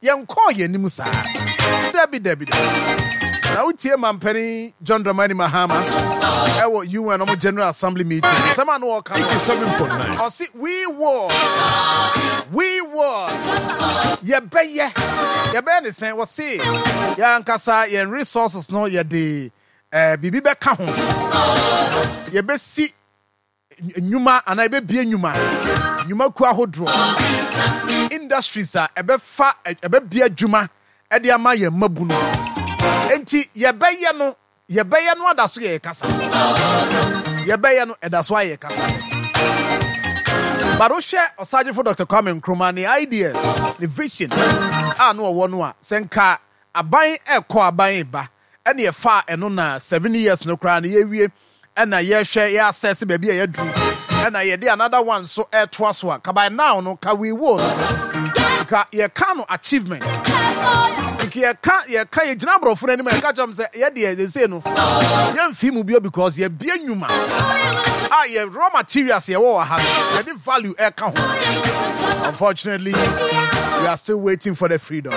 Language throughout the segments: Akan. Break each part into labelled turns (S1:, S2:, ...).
S1: Yɛnkɔɔ yɛn anim saa. Dabi, dabi, dabi. Na wotie Mampanin John Dramani Mahama ɛwɔ UN ɔmo General Assembly meeting. Nsɛm a na ɔka no,
S2: 87.9.
S1: ɔse we will, we will, yɛbɛyɛ, yɛbɛyɛ ne sɛn? Wɔse yɛn ankasa yɛn resources no yɛde eh, biribi bɛka ho. Yɛbɛsi nnwuma anaa yɛbɛbue nnwuma, nnwumakuo ahodoɔ, industries a ɛbɛfa ɛbɛbue adwuma de ama yɛn mmabunu. Enti yɛbɛyɛ no, yɛbɛyɛ no ada so yɛ kasa. Yɛbɛyɛ no ɛda so ayɛ kasa. But wohwɛ Ɔsagyefo Dr. Kwame Nkrumah ne ideas, ne vision a na ɔwɔ no a, sɛ nka aban ɛkɔ aban ba ɛne ɛfaa ɛno na 7 years no koraa no yɛwie ɛna yɛhwɛ yɛ assess baabi a yɛaduru ɛna yɛde another one so ɛtoa so a, ka by now no ka we will no nka yɛka no achievement, nka yɛka yɛgyina aborɔfo no anim a yɛka kyerɛ m sɛ yɛdeɛ sɛsei no yɛmfi mu bio because yɛbie nnwuma a yɛ raw materials yɛwɔ wɔ ha no yɛde value ɛka ho. Unfortunately, we are still waiting for the freedom,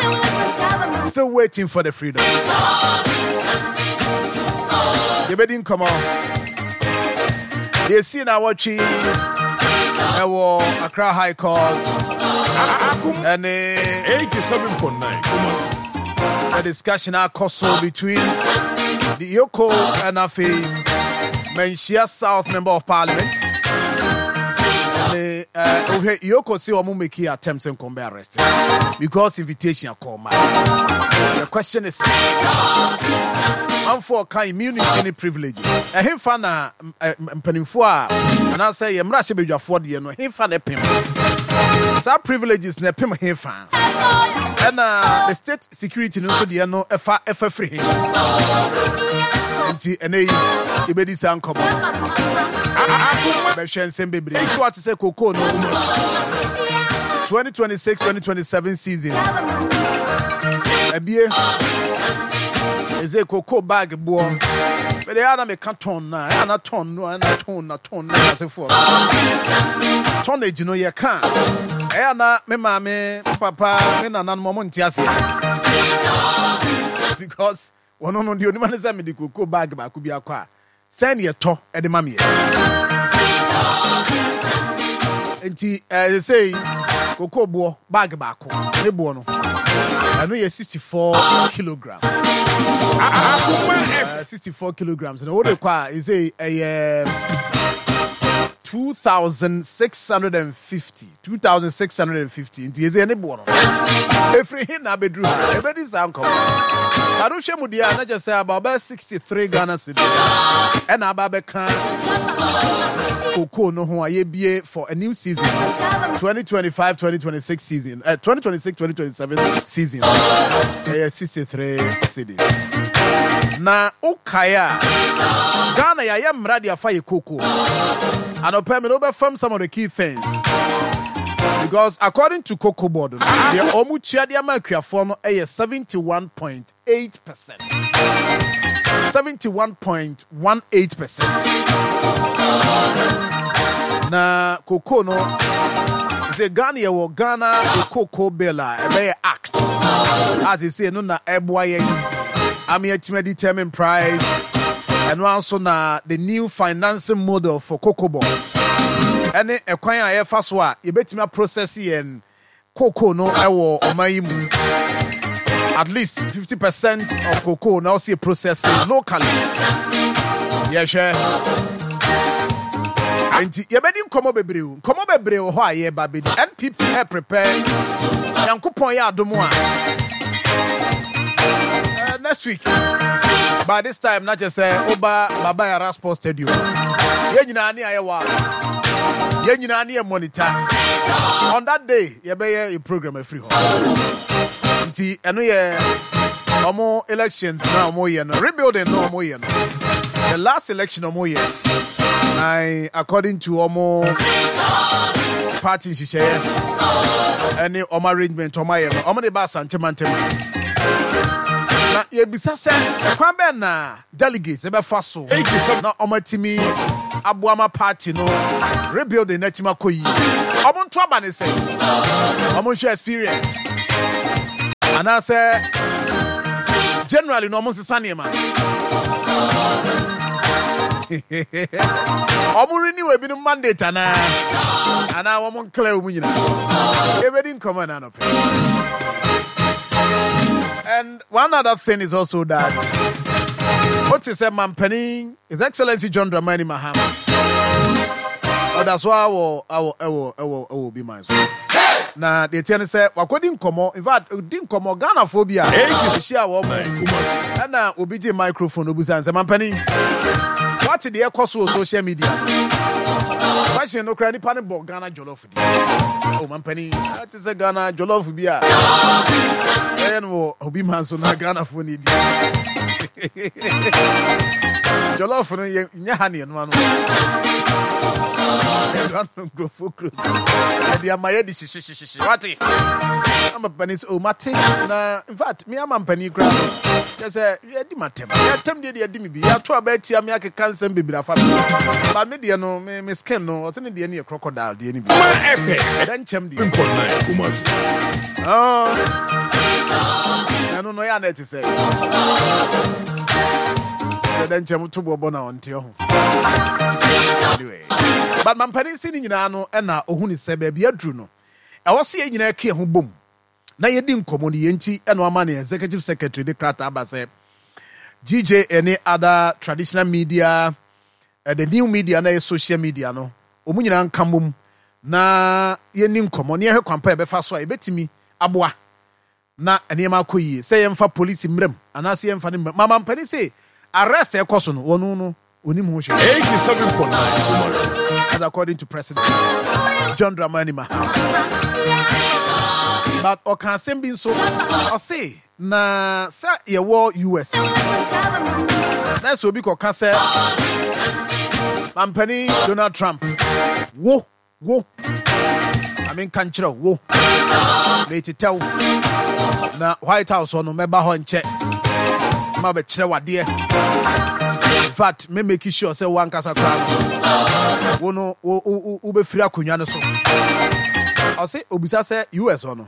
S1: still waiting for the freedom. Yɛbɛdi nkɔmmɔ deɛ ɛsii na wɔtwe ɛwɔ Accra High Court ɛne
S2: 87.9 Kumasi.
S1: The discussion akɔ so between the EOCO and afei Manhyia South Member of Parliament ne wohwɛ EOCO sɛ ɔmo make attempt sɛ nkɔm bɛ arrest because invitation akɔ ma. The question is, manfoɔ ka immunity ne privileges, ɛhefa na mpanimfoɔ a anaasɛ yɛ mmarahyɛ badwafoɔ deɛ no, hefa na ɛpem saa privileges na ɛpem hefa, ɛna the state security no nso deɛ no ɛfa firi he? Nti ɛnɛ yi yɛbɛdi saa nkɔmmɔ no, bɛhwɛ nsɛm bebree so ate sɛ kokoo no 2026-2027 season ebie ɛsɛ kokoo bag boɔ bɛde ɛyɛ na meka ton na ɛyɛ na ton no ɛna ton na ton na asefoɔ no tonnage no yɛka ɛyɛ na me maame, me papa, me nananom ɔmo nte aseɛ because wɔn no deɛ onim ne sɛ mede kokoo bag baako bi akɔ a sɛn ne yɛtɔ ɛde ma meɛ. Nti sɛ kokoo boɔ bag baako ne boɔ no ɛno yɛ 64 kilogram. 64 kilograms na wode kɔ a ɛsɛ ɛyɛ 2650, 2650. Nti ɛsɛ ne boɔ no ɛfiri he na abɛduru ha? Ɛbɛdi saa nkɔmmɔ bade wohwɛ mu deɛ a na kyɛ sɛ aba ɔbɛyɛ 63 Ghana cedis ɛna aba bɛka kokoo no ho a yɛbie for a new season, 2025 2026 season, 2026 2027 season, ɛyɛ 63 cedis. Na wokae a Ghana yɛayɛ mmara de afa yɛ kokoo. Anɔpɛ me no wobɛfam some of the key things because according to Cocoa Board no, deɛ ɔmo tua de ama akuafoɔ no ɛyɛ 71.8%, 71.18%. Na cocoa no sɛ Ghana yɛwɔ Ghana Cocoa Bill a ɛbɛyɛ act a sɛsei no na ɛboa yɛn ama yɛatumi determine price. Ɛno ara nso na the new financing model for Cocoa Board ɛne ɛkwan a yɛfa so a yɛbɛtumi aprocess yɛn cocoa no ɛwɔ ɔman yi mu. At least 50% of cocoa na ɔsi process locally. Yɛhwɛ nti yɛbɛdi nkɔmmɔ bebree o, nkɔmmɔ bebree wɔ hɔ a yɛba bɛdi. NPP ɛ prepare. Nyankopɔn yɛ adom a next week by this time na kyerɛ sɛ woba Baba Yara Sports Stadium, yɛn nyinaa ne ayɛ wɔ a yɛn nyinaa ne yɛ monitor. On that day yɛbɛyɛ a program afiri hɔ. Nti ɛno yɛ ɔmo elections na ɔmo yɛ no, rebuilding na ɔmo yɛ no, the last election ɔmo yɛ na according to ɔmo party nhyehyɛeɛ ɛne ɔmo arrangement ɔmo ayɛ no, ɔmo de ba Asante mantam na yɛbisa sɛ ɛkwan bɛn na delegates ɛbɛfa so na ɔmo atumi aboa ma party no rebuilding na atumi akɔ yie. Ɔmo nto aba ne sɛ ɔmo nhwɛ experience. Anaasɛ generally no ɔmo nsesa nneɛma. Ɔmo renew ebinom mandate anaa? Anaa wɔn nclear wɔn nyinaa? Yɛbɛdi nkɔmmɔ ɛna anɔpɛ. And one other thing is also that wote sɛ mampanin His Excellency John Dramani Mahama ɔda so ara wɔ ɛwɔ ɛwɔ ɛwɔ ɛwɔ obi man so. Na deɛ ɛteɛ ne sɛ wakɔdi nkɔmmɔ, in fact ɔdi nkɔmmɔ Ghanafoɔ bi a ɔhyia wɔn ɛna obi gye microphone obusa no sɛ mampanin wate deɛ ɛkɔ so wɔ social media no? Question no koraa nipa no bɔ Ghana jollof di. Oh mampanin ate sɛ Ghana jollof bi a ɛyɛ no wɔ obi man so na Ghanafoɔ na ɛdi. Jollof no yɛ nyɛ ha ne ɛnoa no. Ɛnoa no nkurɔfoɔ kuro so. Ɛde ama yɛ de hyehyehyehye. Wate? Ama panin sɛ, oh mate. Na in fact, me ama mpanin koraa no. Kyɛ sɛ yɛdi m'atɛm. Yɛatɛm deɛ deɛ yɛdi me bi. Yɛato aba atia me akeka nsɛm bebree afa me. But me deɛ no, me, me skin no, ɔsɛ ne deɛ no yɛ crocodile deɛ no bi. Ɛdɛ nkyɛm deɛ. Oh. Ɛno no yɛ a na ɛte sɛ. Sɛ dɛ nkyɛm to boɔ bɔ na ɔnte ho. Anyway. But mampanin si ne nyinaa no ɛna ohun sɛ baabi aduru no, ɛwɔ sɛ yɛn nyinaa ka yɛn ho bom na yɛdi nkɔmmɔ no. Yɛn nti ɛna ɔama ne executive secretary de krataa aba sɛ GJA ne other traditional media, the new media na ɛyɛ social media no, wɔn nyinaa nka mmom na yɛnni nkɔmmɔ na yɛhwɛ kwan pa a yɛbɛfa so a yɛbɛtumi aboa na nneɛma akɔ yie, sɛ yɛmfa polisi mmra mu anaasɛ yɛmfa no mmra mu. Mama mpanin se arrest a ɛkɔ so no, wɔn no onim ho hwee.
S2: 87.9 Kumasi.
S1: That's according to President John Dramani Mahama. But ɔka asɛm bi nso, ɔse na sɛ yɛwɔ US na sɛ obi kɔka sɛ mampanin Donald Trump wo Wo, ma menka nkyerɛ wo, wo, metetɛ wo, na White House hɔ no mɛba hɔ nkyɛ ma bɛkyerɛ wadeɛ. In fact, me make sure sɛ wo ankasa koraa no, wo no, wo, wo, wobɛfiri akonnwa no so. Ɔse, obisa sɛ US hɔ no,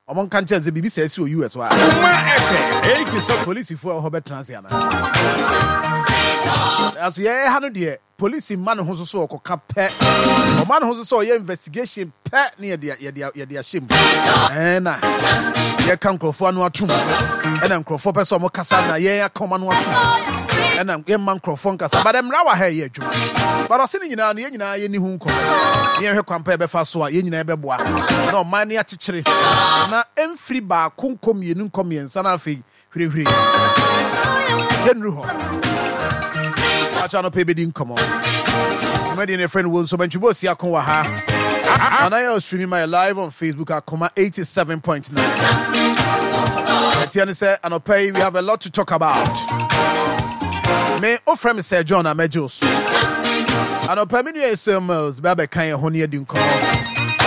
S1: Ɔmo nka nkyerɛ no sɛ biribi saa si wɔ US hɔ a,
S2: Kuma FM 87.
S1: polisifo a ɛwɔ hɔ bɛtena ase anaa? Nanso yɛn ha no deɛ, polisi mma ne ho so sɛ ɔkɔka pɛ. Ɔma ne ho so sɛ ɔyɛ investigation pɛ ne yɛde yɛde yɛde ahyɛ mu. Ɛɛ na yɛka nkurɔfoɔ ano atom. Ɛna nkurɔfoɔ pɛ sɛ ɔmo kasa na yɛn aka ɔmo ano atom. Ɛna yɛmma nkurɔfoɔ nkasa. But mmara wɔ ha ɛyɛ adwuma. But ɔse ne nyinaa no yɛn nyinaa yɛnni ho nkɔmmɔ. Ne yɛnhwɛ kwan pa yɛbɛfa so a yɛn nyinaa yɛbɛboa na ɔman no akyekyere na ɛmfiri baako nkɔ mmienu nkɔ mmiɛnsa na afei hwirehwire yɛnnuru hɔ. Akyɛ anɔpa yɛbɛdi nkɔmmɔ. Dwumadie no yɛfrɛ no Wo Nso Bɛntwebɔ Osi Ako wɔ ha. Ana yɛ streaming my live on Facebook Akoma 87.9. Ɛteɛ ne sɛ anɔpa yi we have a lot to talk about. Me wofrɛ me Sir John a mɛgye wo so. Anɔpa me nua Esau Mills bɛ abɛka yɛn ho ne adi nkɔmmɔ.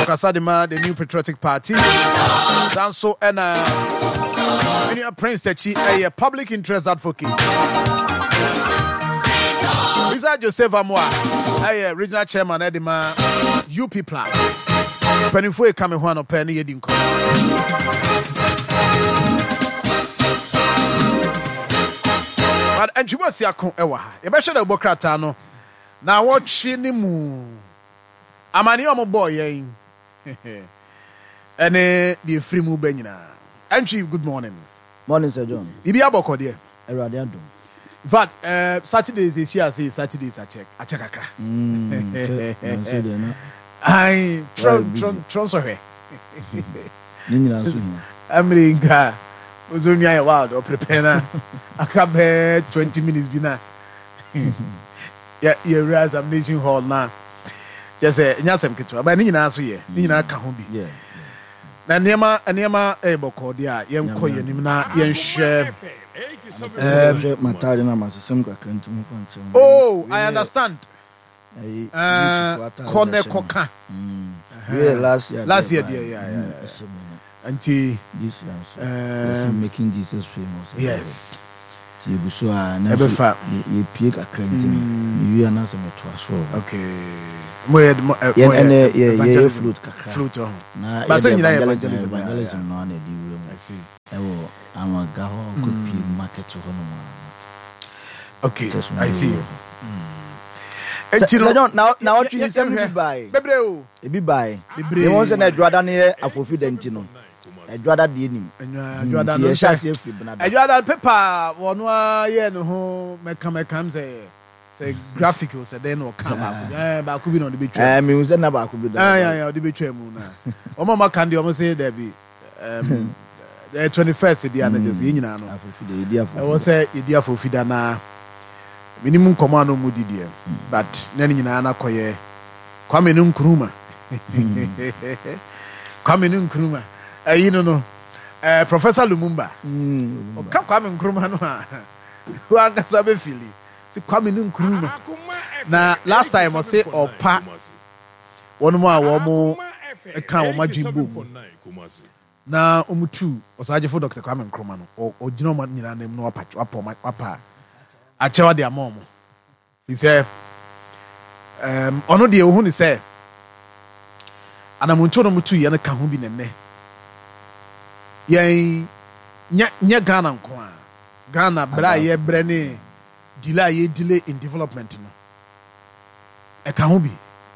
S1: Ɔkasa de ma the New Patriotic Party. Saa nso ɛna me nua Prince Takyi ɛyɛ public interest advocate. Bisa Joseph Amoah ɛyɛ regional chairman ɛde ma UP Plus. Mpanimfoɔ eka me ho anɔpa ne yɛdi nkɔmmɔ. But Antwi Boasiako wɔ ha. Yɛbɛhwɛ dɛ wobɔ krataa no naawɔtwe no mu amaneɛ a wɔbɔɔ yɛn ɛne deɛ ɛfiri mu ba nyinaa. Antwi, good morning.
S3: Morning Sir John.
S1: Biribi abɔkɔ deɛ?
S3: Awurade adom.
S1: In fact, Saturdays ɛsi ase Saturdays akyɛ akyɛ kakra.
S3: Kyɛ nanso deɛ na.
S1: Ayi, trɔ trɔ trɔ nsɔhwɛ.
S3: Ne nyinaa nso hia.
S1: Amiri nka ozo nua yɛ wild ɔprepare na aka bɛɛ 20 minutes bi na yɛ yɛwura examination hall na kyɛ sɛ ɛnyɛ asɛm ketewa ba ne nyinaa so yɛ ne nyinaa ka ho bi na nneɛma nneɛma ɛyɛ bɔkɔɔ deɛ a yɛnkɔ yɛn anim na yɛnhwɛ.
S3: Hwɛ m'ataade na masesɛm kakra nti mo fa nkyɛn.
S1: Oh, I understand. Kɔ ne kɔka.
S3: Last year
S1: last year deɛ yeah. Nti
S3: this year nso yɛsɛ making Jesus famous.
S1: Yes.
S3: Ti egu so a na nso yɛpie kakra nti no mewie a na sɛ metoa so.
S1: Okay. Mo yɛ mo
S3: yɛ ɛnɛ yɛ yɛ float kakra.
S1: Float ɔho.
S3: Na yɛ evangelism no ana ɛdi wura mu.
S1: see.
S3: Ɛwɔ Anwaga hɔ kɔpie market hɔ nom a.
S1: Okay, I see. Enti no,
S3: John, na na ɔtwe nsɛm no bi bae.
S1: Bebree o.
S3: Ebi bae.
S1: Bebree.
S3: Deɛ wɔn sɛ na adwada no yɛ afofi da nti no, adwada deɛ nim.
S1: Adwada
S3: no
S1: yɛhyɛ
S3: aseɛ firi benada.
S1: Adwada pepa wɔn a yɛ ne ho mɛka mɛka m sɛ sɛ graphic o sɛ dɛn na ɔka baako bi ɛɛ baako bi na ɔde bɛtwa.
S3: Ɛɛ mi sɛ na baako bi da.
S1: Ɛɛ ɛɛ ɔde bɛtwa mu na wɔn a wɔaka deɛ wɔn sɛ dɛbi. Um, the 21st deɛ ana kyɛ sɛ yɛn nyinaa no ɛwɔ sɛ yɛdi afofida na menim nkɔmmɔ a na ɔmu di deɛ but na ne nyinaa no akɔyɛ Kwame no Nkrumah Kwame no Nkrumah ɛyi no no eh, Professor Lumumba ɔka Kwame Nkrumah no a wankasa bɛfili sɛ Kwame no Nkrumah na last time ɔse ɔpa wɔnom a wɔn ka wɔn adwene bɔ mu na wɔn tu Ɔsaagyefo Dɔkta Kwame Nkrumah no, ɔgyina wɔn nyinaa nan mu na wapa wapa wɔn wapa akyɛw de ama wɔn. Fi sɛ ɛɛm ɔno deɛ ohun ne sɛ anamontuo no wɔn tu yɛ no ka ho bi na nnɛ yɛn nyɛ nyɛ Ghana nko a Ghana brɛ a yɛbrɛ ne delay a yɛ delay in development no. Ɛka ho bi.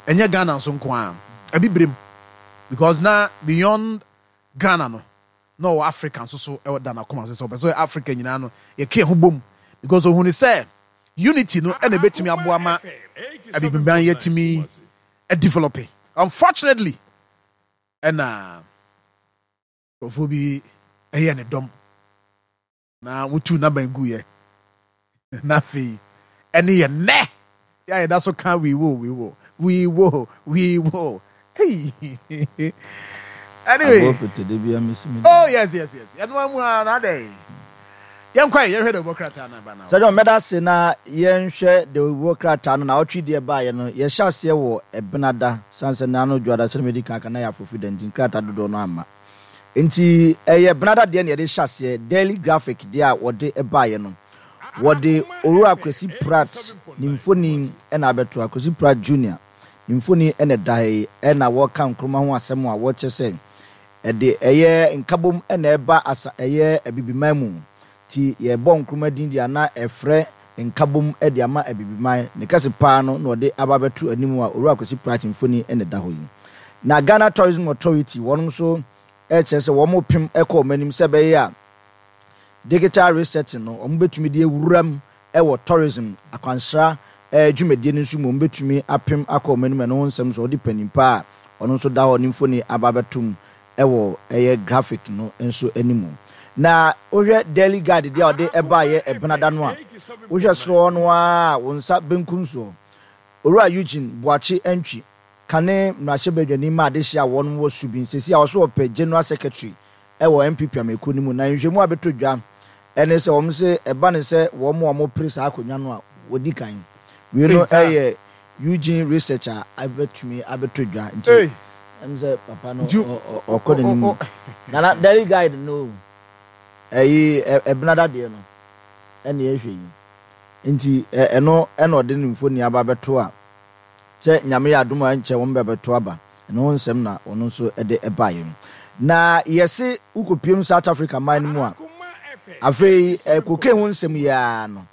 S1: Ɛnyɛ Ghana nso nko ara. Abibirem. Because na beyond Ghana no, na ɔwɔ Africa nso so ɛwɔ da n'akoma so sɛ ɔpɛ sɛ Africa nyinaa no yɛka ɛho bom. Because ohun sɛ unity no ɛna ebetumi aboa ma abibiman yɛtumi develop. Unfortunately, ɛna nkurɔfoɔ bi ɛyɛ ne dɔm. Na wotuu n'aban guiɛ, na afei ɛne yɛ nnɛ yɛ a yɛda so ka we will, we will, we will, we will. Hey. Anyway. Oh yes, yes, yes. Yɛn amu a na adɛ. Yɛn kwan yɛhwɛ dɛ wɔ krataa na ba na.
S3: Sɛ John mɛda ase na yɛnhwɛ dɛ wɔ krataa no na ɔtwe deɛ baayɛ no yɛhyɛ aseɛ wɔ ɛbenada san sɛ n'ano dwoada sɛ mɛdi kan aka na yɛ afofi da nti nkrataa dodoɔ no amma. Enti ɛyɛ Benada deɛ na yɛde hyɛ aseɛ, Daily Graphic deɛ a wɔde baeɛ no. Wɔde Owura Kwesi Pratt ne mfoni na abɛto ha, Kwesi Pratt Junior ne mfoni na ɛda ha yi, ɛna wɔreka Nkrumah ho asɛm a wɔkyerɛ sɛ ɛde ɛyɛ nkabom na ɛba asa ɛyɛ Abibiman mu. Nti yɛbɔ Nkrumah din deɛ a na ɛfrɛ nkabom de ama Abibiman. Ne kɛse paa no na ɔde aba abɛto anim a Owura Kwesi Pratt mfoni na ɛda hɔ yi. Na Ghana Tourism Authority wɔnom nso rekyerɛ sɛ wɔn repem kɔ wɔn anim sɛ ɛbɛyɛ a digital resetting no wɔn bɛtumi de awura mu wɔ tourism akwansra dwumadie no nso mu, wɔn bɛtumi apem akɔ wɔn anim. Ɛno ho nsɛm nso wɔde panin pa a ɔno nso da hɔ ne mfoni aba abɛto mu wɔ ɛyɛ graphic no nso anim. Na wohwɛ Daily Guide deɛ a ɔde ɛbaeɛ Ɛbenada no a, wohwɛ soro hɔ no ara a, wo nsa benkum soɔ, Owura Eugene Boakye Antwi, kane mmarahyɛbadwani ma adehye a wɔn wɔ Subin, seesei a ɔso ɔpɛ General Secretary wɔ NPP amanyɔkuo no mu. Na nhwehwɛmu a abɛtɔ dwa ne sɛ wɔn se ɛba ne sɛ wɔn a wɔpere saa akonnwa no a wɔdi kan. Wei no yɛ Eugene research a abɛtumi abɛtɔ dwa nti ɛm sɛ papa no ɔkɔ n'anim. Nana Daily Guide no ɛyi ɛbenada deɛ no ɛne ɛhwɛ yi nti ɛno ɛna ɔde ne mfoni aba abɛto a sɛ Nyame yɛ adom a ɛnkyɛ wɔn bɛbɛto aba. Ɛno ho nsɛm na ɔno nso de baeɛ no. Na yɛse wokɔpiem South Africa man no mu a, afei cocaine ho nsɛm yi ara no,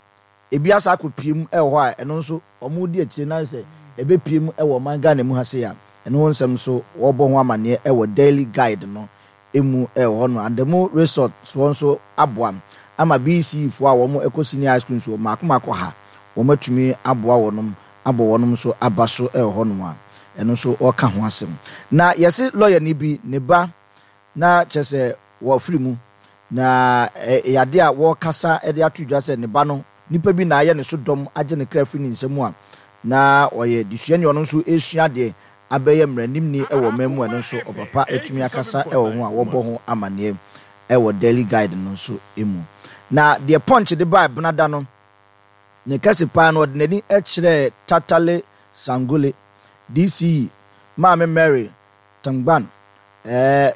S3: ebi asa akɔpiem wɔ hɔ a ɛno nso wɔredi akyire na sɛ ɛbɛpiem wɔ ɔman Ghana mu ha sei a, ɛno ho nsɛm nso wɔrebɔ ho amanneɛ wɔ Daily Guide no mu wɔ hɔ nom. Adamu Resort soɔ nso aboa ama BECE foɔ a wɔn kɔ Senior High School nso mmaako mmaako ha wɔn atumi aboa wɔnom abɔ wɔnom nso aba so wɔ hɔ nom a ɛno nso wɔka ho asɛm. Na yɛse lɔyani bi ne ba na kyerɛ sɛ wɔafiri mu na ɛyɛ adeɛ a wɔkasa de ato dwa sɛ ne ba no nipa bi na ayɛ ne so dɔm agye ne kra afiri ne nsa mu a na ɔyɛ desuani a ɔno nso resua adeɛ abɛyɛ mmaranimni wɔ ɔman mu a ɛno nso ɔpapa atumi akasa wɔ ho a wɔbɔ ho amanneɛ wɔ Daily Guide no nso mu. Na deɛ Punch de bae Benada no, ne kɛse paa no ɔde n'ani kyerɛɛ Tatale Sangole, DCE, Maame Mary Tangban, ɛɛ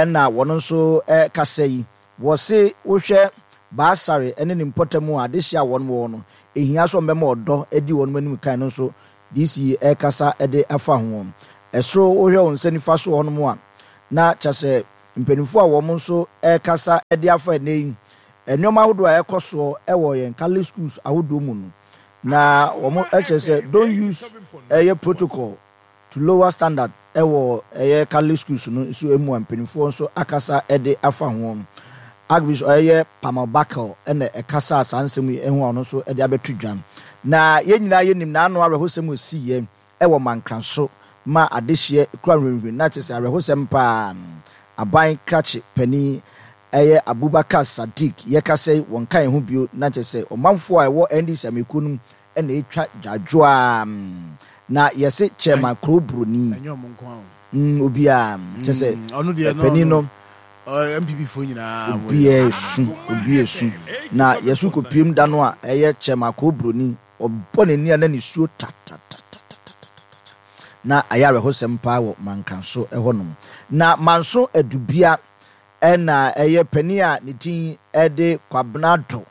S3: na wɔn nso kasa yi. Wɔse wohwɛ Baasare ne ne mpɔtam a adehye a wɔn wɔ no, ehia sɛ wɔbɛma ɔdɔ adi wɔn anim kan no nso DC yi rekasa de afa ho. Ɛsoro wohwɛ wo nsa nifa so hɔnom a, na kyerɛ sɛ Mpanimfoɔ a wɔn nso rekasa de afa ɛnnɛ yi nneɛma ahodoɔ a ɛrekɔ soɔ wɔ yɛn Catholic schools ahodoɔ mu no, na wɔn kyerɛ sɛ don't use ɛyɛ protocol to lower standard wɔ ɛyɛ Catholic schools no nso mu a mpanimfoɔ nso akasa de afa ho. Archbishop ɛyɛ Palmer Buckle na ɛkasaa saa nsɛm yi ho a ɔno nso de abɛto dwa. Na yɛn nyinaa yɛnim n'ano awerɛhosɛm a ɔsiiɛ wɔ Mankraso ma adehyeɛ kura nhwinhwin na kyerɛ sɛ awerɛhosɛm paa. Aban krakye panin ɛyɛ Abubakar Sadiq yɛkasa yi wɔnka yɛn ho bio na kyerɛ sɛ ɔmanfoɔ a ɛwɔ NDC amekuo no mu na ɛtwa dwadwoa na yɛse chairman kuro broni
S1: Ɛnyɛ ɔmo nko ara o.
S3: obiara kyerɛ sɛ
S1: Ɔno deɛ no
S3: panin no
S1: NPP foɔ nyinaa wɔ
S3: obiara esu obiara esu na yɛso kɔpiem da no a ɛyɛ chairman kuro broni ɔbɔ n'ani a na nisuo tatatatatata na ayɛ awerɛhosɛm paa wɔ Mankanso hɔnom. Na Manso Adubia na ɛyɛ panin a ne din de Kwabena Addo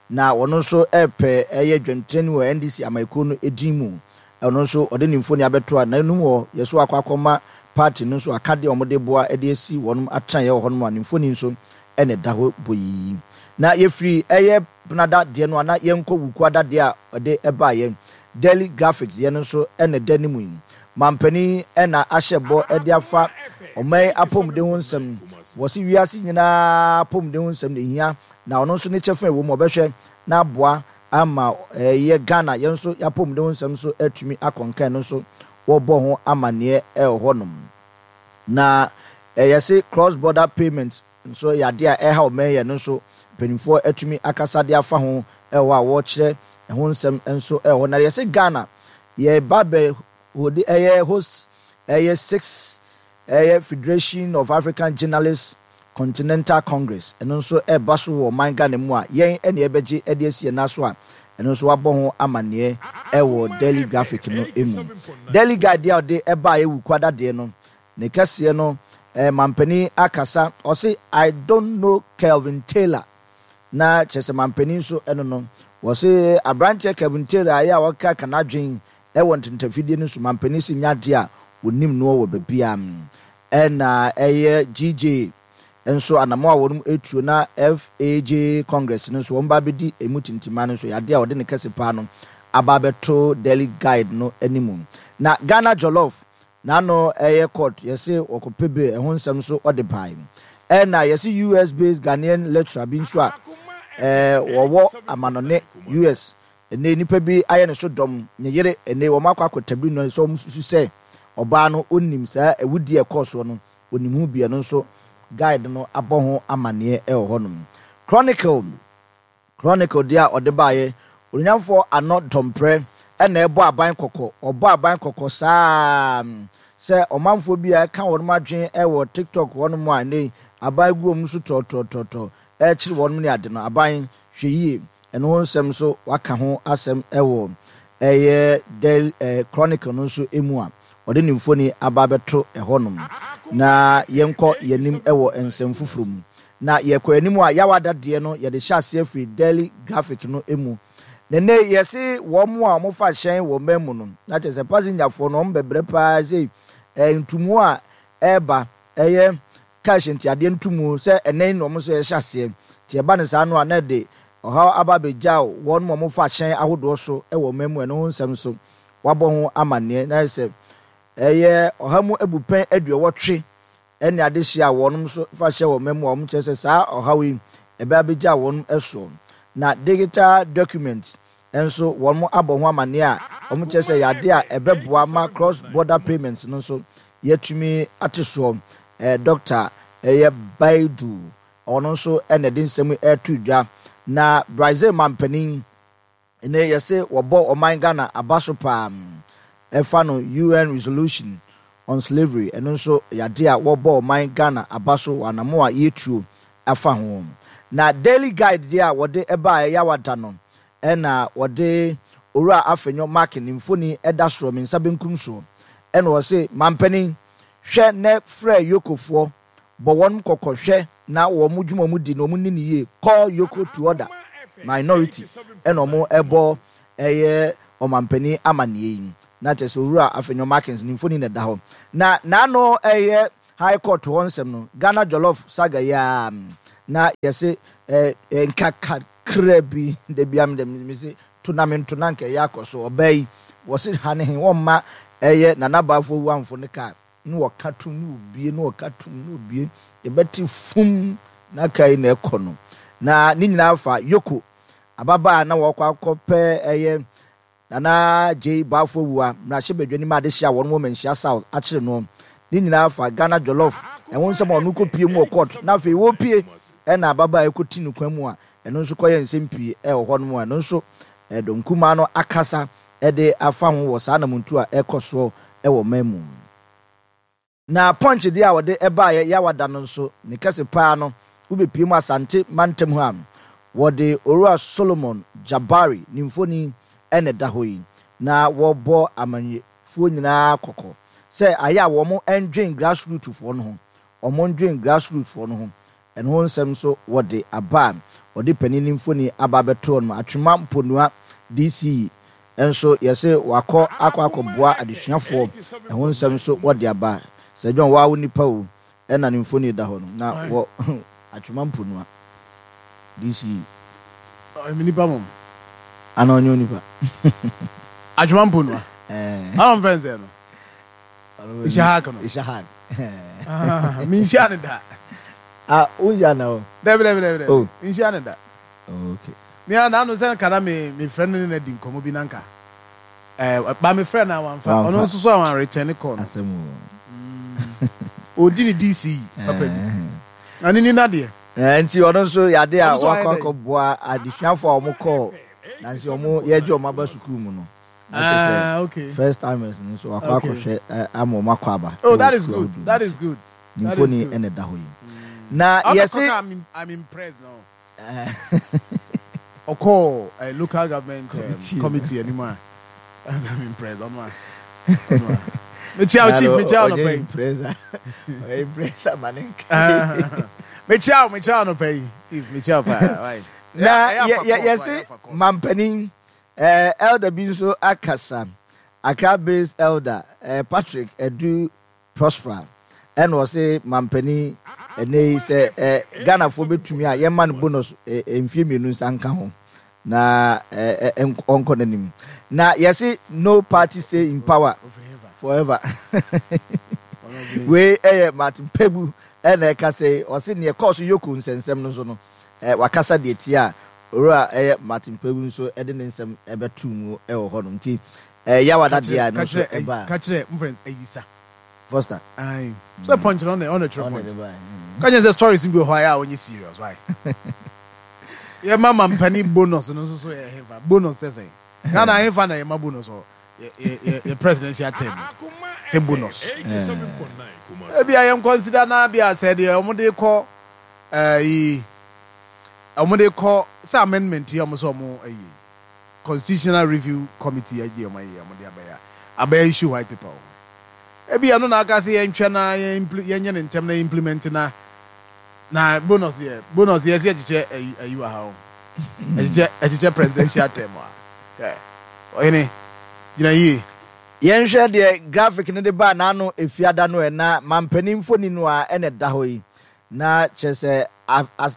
S3: na ɔno nso repɛ ɛyɛ dwamtenani wɔ NDC amayɛkuo no din mu. Ɔno nso ɔde ne mfoni abɛto a n'anum hɔ yɛ so akɔ akɔma party no nso akadeɛ a wɔde boa de asi wɔn atenaeɛ wɔ hɔnom a ne mfoni nso na ɛda hɔ boyii. Na yɛfiri ɛyɛ Benada deɛ no a na yɛnkɔ Wukuada deɛ a ɔde baeɛ, Daily Graphic deɛ no nso na ɛda ne mu yi. Mampanin na ahyɛ bɔ de afa ɔman yi apɔmuden ho nsɛm. Wɔse wiase nyinaa apɔmuden ho nsɛm na ɛhia na ɔno nso ne kyɛfa a ɛwɔ mu ɔbɛhwɛ na aboa ama ɛyɛ Ghana yɛn nso yɛapɔmuden ho nsɛm nso atumi akɔ nkan no nso wɔbɔ ho amaneɛ ɛwɔ hɔnom. Na yɛse cross border payment nso yɛ adeɛ a ɛreha ɔman yi, ɛno nso mpanimfoɔ atumi akasa de afa ho wɔ hɔ a wɔrekyerɛ ɛho nsɛm nso wɔ hɔ. Na yɛse Ghana yɛreba bɛ hode ɛyɛ host ɛyɛ six ɛyɛ Federation of African Journalists Continental Congress ɛno nso ɛreba so wɔ ɔman Ghana mu a yɛn ɛne ɛbɛgye de asi yɛn nan so a ɛno nso wabɔ ho amaneɛ ɛwɔ Daily Graphic no mu. Daily Guide deɛ a ɔde ɛbaeɛ Wukuada deɛ no Ne kɛseɛ no eh mampanin akasa ɔse I don't know Kelvin Taylor na kyerɛ sɛ mampanin nso ɛno no wɔse abranteɛ Kelvin Taylor a ɛyɛ a ɔkeka n'adwen ɛwɔ ntentafidie no so mampanin se nyɛ adeɛ a ɔnim noɔ wɔ babia ɛna ɛyɛ GJ nso anamɔ a wɔnom ɛtuo na FAJ Congress no nso wɔn ba abɛdi ɛmu tintima no nso yɛ adeɛ a ɔde ne kɛse paa no aba abɛto Daily Guide no animu na Ghana Jollof N'ano ɛyɛ court yɛse wɔkɔpɛ bail ɛho nsɛm nso ɔde bae. Ɛna yɛse US based Ghanaian lecturer bi nso a wɔwɔ amanɔne US ɛnɛ nipa bi ayɛ ne so dɔm ne yere ɛnɛ wɔn akɔ akɔtabiri no sɛ wɔn susu sɛ ɔbaa no ɔnim saa awudie a ɛkɔɔ soɔ no ɔnim ho bi ɛno nso guide no abɔ ho amaneɛ ɛwɔ hɔnom. Chronicle. Chronicle deɛ a ɔde baeɛ, Onuonyamfoɔ Ano Dɔmprɛ na ɛbɔ aban kɔkɔ, ɔbɔ aban kɔkɔ saa ara sɛ ɔmanfoɔ bi a ɛka wɔnom adwene wɔ TikTok hɔnom a ɛnnɛ yi aban gu wɔn so tɔɔtɔɔtɔɔtɔɔ ɛrekyere wɔnom ne ade no, aban hwɛ yie. Ɛno ho nsɛm nso waka ho asɛm wɔ ɛyɛ Daily Chronicle no nso mu a ɔde ne mfoni aba abɛto ɛhɔnom. Na yɛnkɔ yɛn anim wɔ nsɛm foforɔ mu. Na yɛkɔ anim a, Yawada deɛ no yɛde hyɛ aseɛ firi Daily Graphic no mu. Na nnɛ yi yɛse wɔn a wɔfa hyɛn wɔ man mu no, na kyerɛ sɛ pasengyafoɔ no wɔn bɛbrɛ paa sei, ɛɛ ntumu a ɛreba, ɛyɛ cash ntiadeɛ ntumu sɛ ɛnnɛ yi na wɔn nso yɛhyɛ aseɛ. Nti ɛba no saa no a na ɛde ɔhaw aba abɛgyaw wɔn a wɔfa hyɛn ahodoɔ so wɔ man mu, ɛno ho nsɛm nso wɔabɔ ho amanneɛ. Na ayɛ sɛ ɛyɛ ɔha mu abupɛn aduɔwɔtwe ne adehye a wɔnom nso fa hyɛ wɔn mu a wɔn kyerɛ sɛ saa ɔhaw yi ɛbɛ abɛgya wɔn soɔ. Na digital document nso wɔn abɔ ho amaneɛ a wɔn kyerɛ sɛ ɛyɛ adeɛ a ɛbɛboa ma cross border payments no nso yɛatumi ate soɔ. Doctor ɛyɛ Baidu ɔno nso na ɛde nsɛm yi ɛreto dwa. Na Brazil manpanin Nnɛ yɛse wɔbɔ ɔman Ghana aba so paa ɛfa no UN resolution on slavery ɛno nso yɛ adeɛ a wɔbɔ ɔman Ghana aba so wɔ anamo a yɛtuo afa ho. Na Daily Guide deɛ a wɔde baeɛ Yawada no ɛna wɔde Owura Afenyo Markin ne mfoni ɛda soɔ me nsa benkum soɔ ɛna ɔse mampanin hwɛ nɛ frɛ Yokofoɔ Bɔ wɔn kɔkɔ hwɛ na wɔn dwuma wɔn di no wɔn nni no yie call yoko to order minority ɛna wɔn ɛbɔ ɛyɛ ɔmanpanin amaneɛ yi na kyerɛ sɛ owura Afenyo Markins ne mfoni na ɛda hɔ na n'ano ɛyɛ. High Court hɔ nsɛm no, Ghana Jollof saga yi ara na yɛse eh, nka kakra bi, da biara me deɛ mese to na mento na nka ɛyɛ akɔ so. Ɔbaa yi, wɔse ha ne he, wɔmma ɛyɛ Nana Bafo Awuamfo ne kaa na wɔka tom na wɔbue na wɔka tom na wɔbue, yɛbɛte fum na kaa yi na ɛkɔ no. Na ne nyinaa fa Yoko, ababaa a na wɔkɔ akɔpɛ ɛyɛ Nana Gyei Boafo Awuah mmarahyɛbadwani ma adehye a wɔn wɔ Manhyia South akyere noɔ. Ne nyinaa fa Ghana Jollof ɛho nsɛm a ɔno kɔpue mu wɔ court na afei wɔrepue ɛna ababaa yi kɔti no kwan mu a ɛno nso kɔyɛ nsɛm pii ɛwɔ hɔ nom a ɛno nso dɔm kumaa no akasa de afa ho wɔ saa anamontuo a ɛrekɔ soɔ wɔ ɔman mu. Na Punch deɛ a wɔde baeɛ Yawa da no nso, ne kɛse paa no, wobɛpue mu Asante mantam hɔ a, wɔde Owura Solomon Jabari ne mfoni na ɛda hɔ yi, na wɔrebɔ amanyɛfoɔ nyinaa kɔkɔ sɛ ayɛ a wɔn ndwen grassroot foɔ no ho, wɔn ndwen grassroot foɔ no ho. Ɛno ho nsɛm nso wɔde aba a wɔde panin no mfoni aba abɛto hɔ nom. Atwema Mponua DC nso yɛse wakɔ akɔ akɔboa adesuafoɔ. Ɛho nsɛm nso wɔde aba. Sir John waa wo nipa o ɛna ne mfoni da hɔ no na wɔ Atwema Mponua DC.
S1: Ɔyɛ me nipa mom.
S3: Ana ɔnyɛ onipa?
S1: Atwema Mponua. Ɛɛ. Ana ɔmfrɛ nsɛ no. Ishaq no.
S3: Ishaq.
S1: Ah, minhyia ne da.
S3: Ah, wonhyia na o.
S1: Dabi dabi dabi dabi. Oh. Minhyia ne da.
S3: Oh, okay.
S1: Me a na no sɛ nka na me me frɛ no ne na di nkɔmmɔ bi na nka. Eh, ba me frɛ na wamfa. Ɔno nso so a wan return call no.
S3: Asɛm o.
S1: Mm. Odi ne DC papa bi. Na ne ni na deɛ.
S3: Eh, nti ɔno nso yade a wakɔ akɔboa adesuafo a wɔn kɔɔ nansi wɔn yɛgye wɔn aba sukuu mu no. Na kyerɛ sɛ
S1: Ah, okay.
S3: first timers no nso wakɔ
S1: Okay.
S3: akɔhwɛ eh, ama wɔn akɔ aba
S1: Oh,
S3: wɔ
S1: that is
S3: sukuu
S1: good.
S3: ahodoɔ mu
S1: That
S3: nti
S1: is good.
S3: ne
S1: That is
S3: mfoni
S1: good.
S3: na ɛda hɔ yi. Na
S1: Ɔno
S3: yɛse
S1: kɔka I'm, I'm impressed no. Ɔkɔɔ eh, local government
S3: committee no.
S1: committee anim a. I'm impressed. Ɔno a. Ɔno a. Mekyia wo chief,
S3: Na
S1: mekyia wo
S3: ɔnyɛ
S1: nɔpa yi.
S3: impressed a ɔyɛ impressed ama ne nka.
S1: Mekyia wo, mekyia wo nɔpa yi. Chief, mekyia wo paa. Why?
S3: Na
S1: Ɛyɛ
S3: yɛ
S1: afa
S3: yɛ
S1: court, why?
S3: yɛse
S1: Afa court.
S3: mampanin Eh, elder bi nso akasa, Accra based elder eh, Patrick Adu Prosper ɛna ɔse mampanin ɛnɛ yi sɛ eh, Ghanafoɔ bɛtumi a yɛma no bonus eh, eh, mfie mmienu nsa nka ho na eh, eh, ɔnkɔ n'anim. Na yɛse no party stay in power forever. Wei ɛyɛ Martin Kpebu ɛna ɛka sɛ ɔse neɛ ɛkɔɔ so Yoko nsɛnsɛm no so no Eh, wakasa deɛ tia a, Owura ɛyɛ Martin Kpebu nso de ne nsɛm bɛtoo mu wɔ hɔ nom. Nti eh, Yawa
S1: Ka
S3: da deɛ
S1: kyerɛ,
S3: a ɛno
S1: ka
S3: nso
S1: kyerɛ, ayi,
S3: ɛbaa.
S1: ka kyerɛ, mo frɛ no Ayisa.
S3: Foster.
S1: Aye. Sɛ punch no, ɔna, ɔna twerɛ
S3: Ɔna
S1: punch.
S3: de bae. Mm.
S1: Ka kyerɛ sɛ stories bi wɔ hɔ a ɛyɛ a ɔnyɛ serious, why? Yɛ ma mampani bonus no nso so yɛ hefa? Bonus sɛ sɛn? Ghana hefa na yɛ ma bonus wɔ yɛ, yɛ, yɛ, yɛ presidential term mu? Sɛ bonus. Ebia yɛn consider na bia sɛ deɛ wɔn de kɔ Ɛyi wɔn de kɔ sɛ amendment yi a wɔn sɛ wɔn ayi yi constitutional review committee agye wɔn ayi wɔn de abɛyɛ abɛyɛ issue white paper wɔ ho ebi ɛno na aka sɛ yɛntwɛ na yɛn impl yɛnyɛ ne ntɛm na implement na na bonus deɛ bonus yɛ sɛ yɛkyekyɛ ayi ayi wɔ ha o ɛkyekyɛ ɛkyekyɛ presidential term a ɛ ɔhene gyina yie.
S3: Yɛnhwɛ deɛ graphic no de baa n'ano Efiada no ɛ, na mampanin mfoni no ara na ɛda hɔ yi. Na kyerɛ sɛ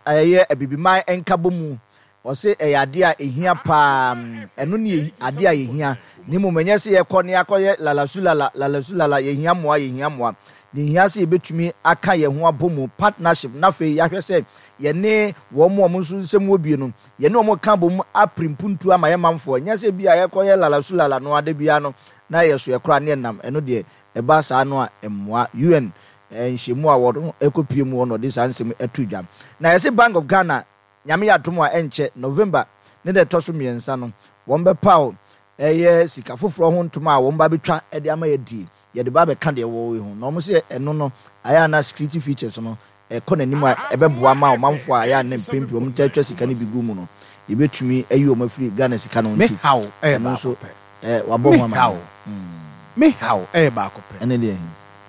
S3: ɛyɛ Abibiman nkabɔmu. Ɔse ɛyɛ adeɛ a ɛhia paa, ɛno ne adeɛ a yɛhia, na mmom ɛnyɛ sɛ yɛkɔ na yɛakɔyɛ lalasulala, lalasulala, yɛhia mmoa, yɛhia mmoa. Deɛ ɛhia sɛ yɛbɛtumi aka yɛn ho abɔ mu, partnership, na afei yɛahwɛ sɛ yɛne wɔn a wɔn nso nsɛm wɔ bie no, yɛne wɔn reka abɔ mu apere mpuntuo ama yɛn manfoɔ. Ɛnyɛ sɛ bi a yɛkɔyɛ lalasulala no ara da biara no na yɛso yɛ koraa na yɛnam, ɛno deɛ ɛba saa no a ɛmmoa. UN nhyiamu a wɔkɔpue mu hɔ na ɔde saa nsɛm yi too dwa. Na yɛse Bank of Ghana, Nyame yɛ adom a ɛnkyɛ, November ne da ɛtɔ so mmiɛnsa no, wɔbɛpaw ɛyɛ sika foforɔ ho ntoma a wɔba abɛtwa de ama yɛadie. Yɛde ba abɛka deɛ ɛwɔ yi ho. Na wɔse ɛno no, ayɛ a na security features no ɛkɔ n'anim a ɛbɛboa ma ɔmanfoɔ a ɛyɛ a na mpɛn pii wɔtaa twa sika no bi gu mu no, yɛbɛtumi ayi wɔn afiri Ghana sika no ho
S1: Me
S3: nti,
S1: haw ɛyɛ
S3: ɛno
S1: baako
S3: nso
S1: pɛ.
S3: eh, wabɔ
S1: Me
S3: ho
S1: haw,
S3: amaneɛ.
S1: me haw ɛyɛ baako pɛ.
S3: Ɛne deɛ he?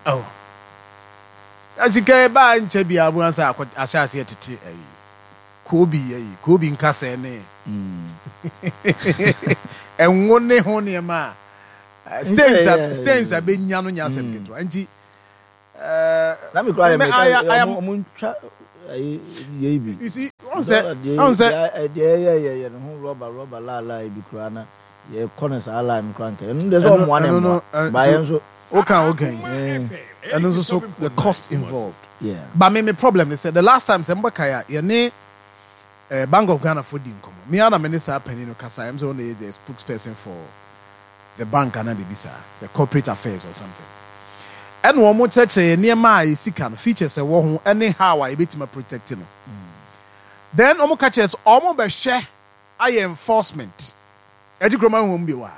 S1: Oh. Na sika yi baa nkyɛ biara bu ansa akɔ ahyɛ aseɛ tete ayi. Koobi ayi, koobi nkasɛɛ ne ɛnwo ne ho nneɛma a stains a stains a bɛnya no nyɛ asɛm ketewa. Nti
S3: Na me koraa yɛ meka ɔmo ntwa ayi yei bi.
S1: You see, ɔn sɛ, ɔn sɛ.
S3: Deɛ yɛ yɛ yɛ ne ho rɔba rɔba laa laa bi koraa na yɛ kɔ ne saa line no koraa nka ɛno deɛ sɛ ɔmoa ne mmoa ba yɛn nso.
S1: Woka woka yi ɛno nso so the cost involved. Yeah. But me me problem ne sɛ the last time sɛ mbɛkae a yɛne eh, Bank of Ghana fo di nkɔmmɔ. Me ara na me ne saa panin no kasa ɛm sɛ ɔna yɛ the spokesperson for the bank anaa biribi saa, sɛ corporate affairs or something. Ɛna wɔn kyerɛkyerɛ yɛn nneɛma a yɛ sika no, features ɛwɔ ho ɛne how a yɛbɛtumi a protect no. Then wɔn ka kyerɛ sɛ wɔn bɛhwɛ ayɛ enforcement. Ɛgye kurom ahu wɔn bio a.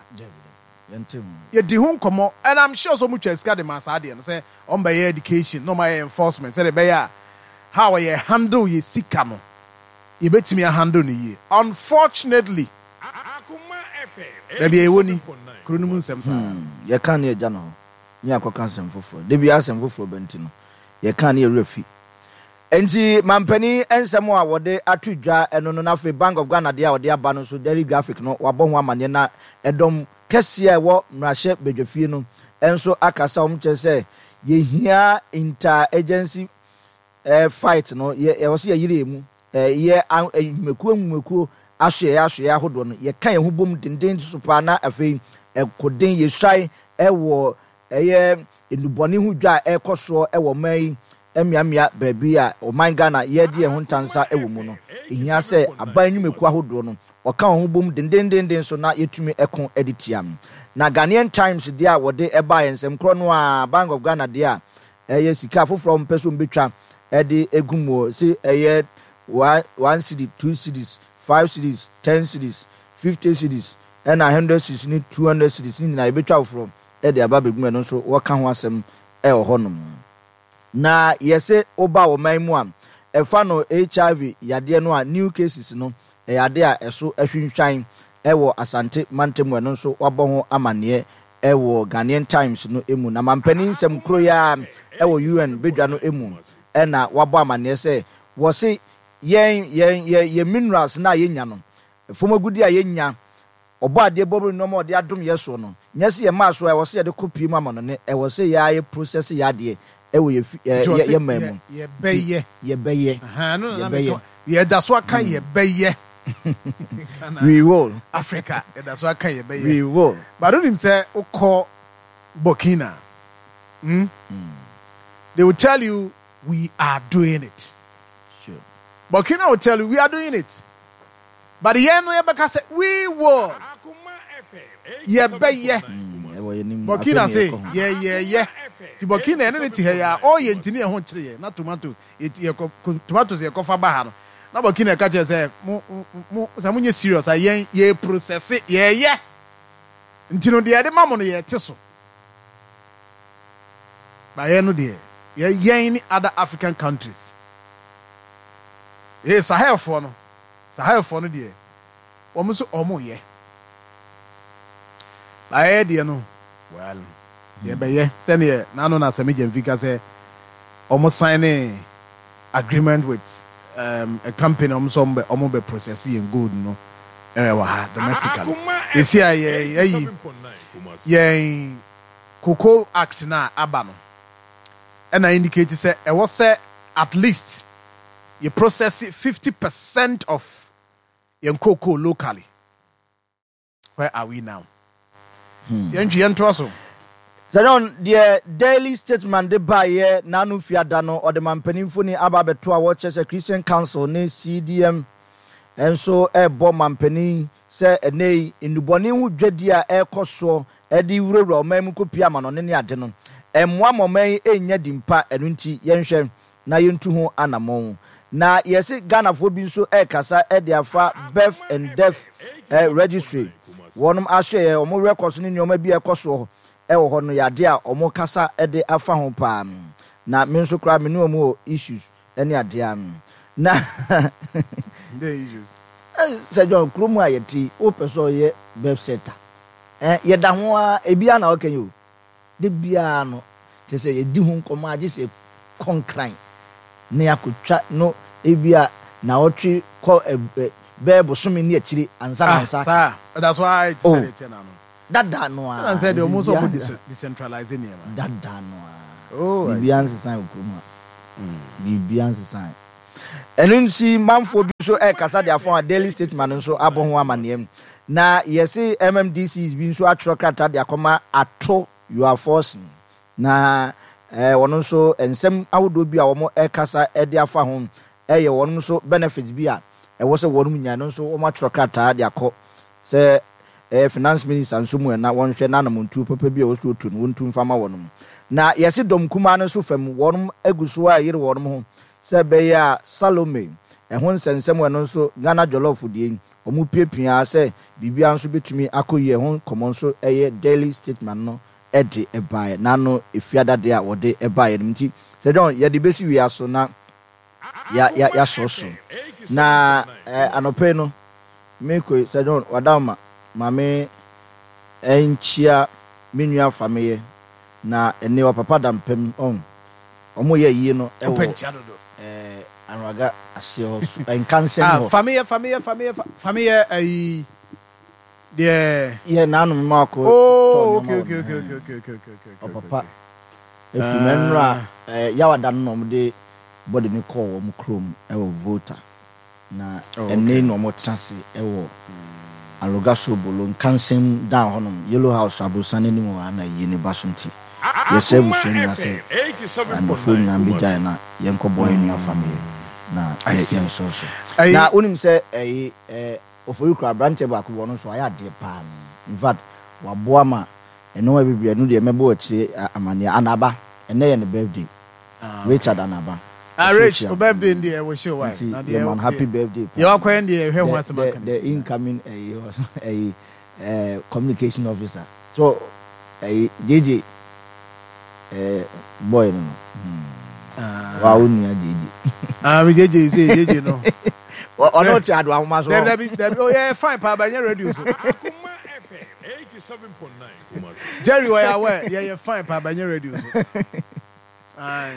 S1: Yɛdi ho nkɔmmɔ and I'm sure sɛ wɔn twa sika de ma saa adeɛ no sɛ wɔn bɛyɛ education na wɔn ayɛ enforcement sɛdeɛ ɛbɛyɛ a how a yɛ handle yɛ sika no yɛbɛtumi a handle no yie. Unfortunately. Baabi a yɛwɔ ni, kuro no mu nsɛm saa ara.
S3: Yɛka ne yɛgya no hɔ ne yɛakɔka asɛm foforɔ. Da biara asɛm foforɔ ba nti no, yɛka ne yɛn werɛ fi. Enti mampanin nsɛm a wɔde ato dwa no no na afei Bank of Ghana deɛ a wɔde aba no nso Daily Graphic no wɔabɔ ho amanneɛ na ɛdɔm kɛseɛ a ɛwɔ mmarahyɛ badwafie no nso akasa wɔn kyerɛ sɛ yɛhia inter-agency eh, fight no yɛ ɛwɔ sɛ yɛyere yɛn mu eh, yɛ nnwumakuo nnwumakuo asoɛeɛ asoɛeɛ ahodoɔ no yɛka yɛn ho bom denden so paa na afei ɛkoden yɛsuae ɛwɔ ɛyɛ nnubɔne ho dwa a ɛrekɔ soɔ ɛwɔ ɔman yi mmeammea baabi a ɔman Ghana yɛde yɛn ho ntansa ɛwɔ mu no ɛhia sɛ aban nnwumakuo ahodoɔ no wɔka wɔn ho bom dendendenden so na yɛtumi ɛko de tia no. Na Ghanaian Times deɛ a wɔde ɛbaeɛ nsɛm korɔ no ara Bank of Ghana deɛ a Ɛyɛ sika foforɔ a wɔpɛ sɛ wɔbɛtwa de agu mu se ɛyɛ one cedi, two cedis, five cedis, ten cedis, fifty cedis ɛna hundred cedis ne 200 cedis ne nyinaa yɛbɛtwa foforɔ de aba abɛgu mu ɛno nso wɔka ho asɛm wɔ hɔnom. Na yɛse woba ɔman mu a ɛfa no HIV yadeɛ no a new cases no ɛyɛ ade a ɛso ahwinhwan wɔ Asante mantam mu ɛno nso wɔabɔ ho amaneɛ wɔ Ghanaian Times no mu. Na mampanin nsɛm koro yi ara wɔ UN badwa no mu na wɔabɔ amaneɛ sɛ wɔse yɛn yɛn yɛn yɛn minerals no a yɛnya no, fam agudeɛ a yɛnya, Ɔbɔadeɛ bɔbere nnoɔma a ɔde adom yɛn soɔ no, nyɛ sɛ yɛmaa so a ɛwɔ sɛ yɛde kɔ pie mu amanɔne, ɛwɔ sɛ yɛn ara yɛ process yɛn adeɛ wɔ yɛn fi
S1: Nti
S3: yɛ
S1: ɔse
S3: yɛn man
S1: yɛ
S3: mu. Nti
S1: yɛbɛyɛ.
S3: yɛbɛyɛ,
S1: Ahaa, ɛno na na meka
S3: yɛbɛyɛ.
S1: Yɛda so aka yɛbɛyɛ. Ghana,
S3: We will.
S1: Africa, yɛda so aka yɛbɛyɛ.
S3: We will.
S1: But wonim sɛ wokɔ Burkina, hmm? They will tell you we are doing it.
S3: Sure.
S1: Burkina will tell you we are doing it. But yɛn no yɛbɛka sɛ we will. Yɛbɛyɛ.
S3: Ɛwɔ yɛn anim.
S1: Burkina
S3: Afei na
S1: se
S3: yɛkɔ ho.
S1: yɛyɛyɛ. Nti Burkina ɛne ne te ha yi a ɔyɛ nti ne yɛn ho kyere yɛn na tomatoes yɛti yɛkɔ tomatoes yɛkɔfa ba ha no na Burkina ɛka kyerɛ sɛ mo mo sɛ monyɛ serious a yɛn yɛ processe yɛyɛ nti no deɛ yɛde ma mo no yɛte so. Ba yɛn no deɛ yɛ yɛn ne other African countries ee Sahelfoɔ no Sahelfoɔ no deɛ wɔn nso wɔn yɛ. Ba yɛyɛ deɛ no well yɛbɛyɛ sɛdeɛ n'ano na Sami Gyamfi ka sɛ wɔn sign agreement with um, a company wɔn nso wɔn bɛ wɔn bɛ process yɛn gold no ɛwɔ ha domestically. Yɛsi a yɛ yɛyi yɛn cocoa act no a aba no ɛna indicate sɛ ɛwɔ sɛ at least yɛ process 50% of yɛn cocoa locally. Where are we now? Nti yɛntwi yɛntoa so.
S3: Sir John, deɛ Daily Statesman de baeɛ n'ano fiada no, ɔde mampanin mfoni aba abɛto a wɔkyerɛ sɛ Christian Council ne CDM nso rebɔ mampanin sɛ ɛnnɛ yi nnubɔne ho dwadie a ɛrekɔ soɔ de wurawura ɔman mu kɔpue amanɔne ne ade no, ɛmmoa ma ɔman yi nnya din pa, ɛno nti yɛnhwɛ na yɛntu ho anamɔn. Na yɛse Ghanafoɔ bi nso rekasa de afa Birth and Death Registry, wɔnom asoɛeɛ, wɔn records ne nnoɔma bi a ɛkɔ soɔ wɔ hɔ no yɛ adeɛ a wɔkasa de afa ho paa. Na me nso koraa me ne wɔn wɔ issues ne adeɛ a na Sir John, kurom a yɛte yi, wopɛ sɛ ɔyɛ birth center, yɛda ho ara, ebiara na ɔka yi o. Da biara no, kyerɛ sɛ yɛdi ho nkɔmmɔ a, gye sɛ yɛkɔ Nkran na yɛakɔtwa no ebia naawɔtwe kɔ bɛyɛ bosome ne akyire ansa na
S1: Ah,
S3: wo nsa aka.
S1: saa? Ɛda so ara te sɛ
S3: Oh,
S1: deɛ ɛteɛ no ano.
S3: dada no
S1: Ɛna
S3: ara,
S1: sɛ deɛ wɔn nso wɔn
S3: biribiara
S1: decentralize nneɛma.
S3: dada no ara.
S1: Oh, I
S3: Biribiara
S1: see.
S3: nsesae wɔ kurom ha. Biribiara nsesae. Ɛno nti manfoɔ bi nso ɛrekasa de afa a Daily Statesman nso abɔ ho amanneɛ. Na yɛse MMDCs bi nso atwerɛ krataa de akɔma Ato Yuaforson. Na wɔn nso nsɛm ahodoɔ bi a wɔn ɛrekasa de afa ho ɛyɛ wɔn nso benefits bi a ɛwɔ sɛ wɔn nya, ɛno nso wɔn atwerɛ krataa de akɔ sɛ ɛyɛ finance minister nso mu ɛna wɔnhwɛ na anamontuo papa bi a ɛwɔ sɛ wɔtu no wɔntu mfa ma wɔn. Na yɛse dɔm kumaa no nso fam wɔn agu so a ɛyere wɔn ho sɛ ɛbɛyɛ a Salome ɛho nsɛnsɛm ɛno nso Ghana Jollof deɛ yi wɔn piapia ara sɛ biribiara nso bɛtumi akɔ yie ɛho nkɔmmɔ nso ɛyɛ Daily Statesman no de baeɛ n'ano efiada deɛ a wɔde baeɛ no nti Sir John yɛde bɛsi wia so na ya ya yasɔ so na eh, anɔpa yi no mekɔ yi Sir John wadawoma ma me nkyia me nua Fameyɛ na ɛne ɔpapa da mpam ɔn ɔmo yɛ yie no ɛwɔ eh, Anwaga aseɛ hɔ so nkansɛm
S1: Ah,
S3: hɔ.
S1: Fameyɛ Fameyɛ Fameyɛ Fameyɛ ayi deɛ.
S3: Yɛ n'ano mema akɔ tɔ
S1: Oh,
S3: nneɛma
S1: okay
S3: wɔ
S1: okay
S3: no
S1: okay
S3: hɛn.
S1: okay okay okay okay okay okay
S3: Ɔpapa
S1: okay.
S3: efiri mu ɛnora
S1: Ah.
S3: eh, Yawada no na wɔn de bɔde no kɔɔ wɔn kurom ɛwɔ Volta na
S1: Oh,
S3: ɛnɛ
S1: okay.
S3: na wɔn tena ase ɛwɔ Aloga Sobolo Nkansɛm dan hɔnom Yellow House aborosan n'anim hɔ ana yie ne ba so nti yɛsrɛ
S2: Akoma
S3: abusua nyinaa sɛ
S2: FM
S3: andɔfoɔ
S2: 87.9
S3: nyinaa mbɛgyae
S2: Kumasi.
S3: na yɛnkɔ bɔ yɛn nua family na
S1: I
S3: yɛ
S1: see.
S3: yɛn sɔɔ so
S1: Ayi.
S3: na wonim sɛ ɛyi ɛɛ Ofori kura aberanteɛ baako bi ɔno nso wayɛ adeɛ paa in fact waboa ma nnoɔma bebree ɛno deɛ mɛbɔ akyire amaneɛ Anaba ɛnɛ yɛ ne birthday
S1: Ah,
S3: Richard
S1: okay.
S3: Anaba
S1: Ah,
S3: ɔso
S1: Rich,
S3: kyia
S1: o birthday ndi ɛwɔ show why?
S3: nti
S1: Na
S3: yɛ
S1: deɛ
S3: man happy birthday
S1: deɛ
S3: paa
S1: wakɔyɛ ndi ɛhwɛ ho
S3: the
S1: asɛm
S3: the
S1: aka
S3: the
S1: n'akyi.
S3: incoming ɛyi ɛyi ɛɛ communication officer so ɛyi JJ ɛɛ boy no no hmm. Wa wo nua JJ.
S1: Ah, mi JJ say JJ no.
S3: Ɔno te ado ahoma so.
S1: Dabi dabi dabi oh yeah fine paa ba nyɛ radio so.
S2: Akoma FM 87.9 Kumasi.
S1: Jerry ɔyɛ aware yɛ yɛ fine paa ba nyɛ radio so. Aye.